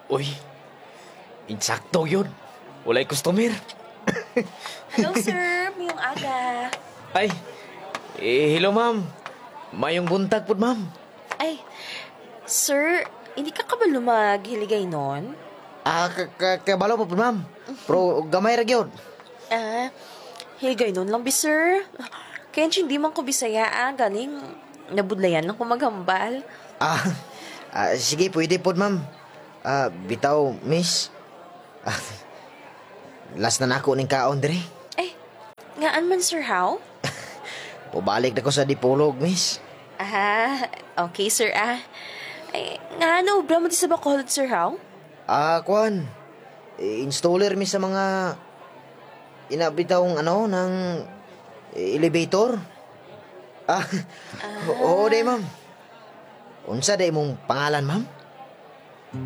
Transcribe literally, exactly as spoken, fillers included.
Uy, insakto yun. Walay customer. Hello, sir. Mayong aga. Ay, eh, hello, ma'am. Mayong buntag po, ma'am. Ay, sir, hindi ka kabalo maghiligaynon? Ah, ka, ka, kabalo po, ma'am. Pero gamay ra gyud. Ah, hiligaynon lang bi, sir. Kaya hindi man ko Bisaya, ah. Galing, nabudlayan lang ko maghambal. Ah, ah, sige, pwede po, ma'am. Ah, bitaw, miss. Ah, last na nako ning kaon diri. Ay, ngaan man, sir, how? Pabalik na ko sa Dipolog, miss. Ah, okay, sir, ah. Ay, nga ano, obra mo di sa Bacolod, sir, how? Ah, kwan. Eh, installer mi sa mga inabitawng ano, ng elevator. Ah, oo, day, ma'am. Unsa day imong pangalan, ma'am?